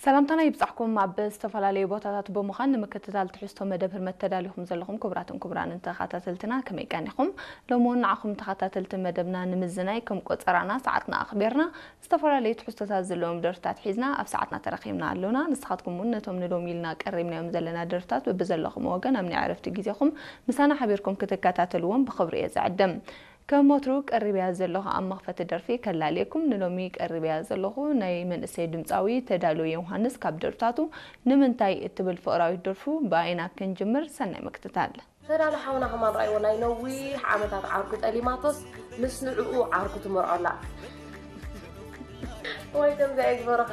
ሰላምታና ይብጻሕኩም። ኣብ ዝተፈላለዩ ቦታታት ብምዃን ንምክትታል ትሕዝቶ መደብ ህርመት ተዳሊኹም ዘለኹም ክቡራትን ክቡራንን ተኸታተልትና፣ ከመይ ቀኒኹም? ሎሚ እውን ንዓኹም ተኸታተልቲ መደብና ንምዝናይ፣ ከም ቆጸራና ሰዓትና ኣኽቢርና ዝተፈላለዩ ትሕዝቶታት ዘለዎም ደርፍታት ሒዝና ኣብ ሰዓትና ተረኺብና ኣሎና። ንስኻትኩም እውን ነቶም ንሎሚ ኢልና ቀሪብናዮም ዘለና ደርፍታት በብዘለኹም ወገን ኣብ ናይ ዕረፍቲ ግዜኹም ምሳና ሓቢርኩም ክትከታተልዎም ብኽብሪ እየ ዝዕድም። ከም ወትሩ ቀሪበያ ዘለኹ ኣብ መኽፈቲ ደርፊ ከላልየኩም፣ ንሎሚ ቀሪበያ ዘለኹ ናይ መንእሰይ ድምጻዊ ተዳሎ ዮውሃንስ ካብ ደርፍታቱ ንምንታይ እትብል ፍቕራዊት ደርፉ ብኣይና ክንጅምር። ሰናይ ምክትታል። ተዳሎ ሓውና ከማን ረኣይዎ፣ ናይ ነዊሕ ዓመታት ዓርኩ ጠሊማቶስ ምስ ንዕኡ ዓርኩ ትምርዖላ። ወይ ከምዚኣ ይግበረኻ።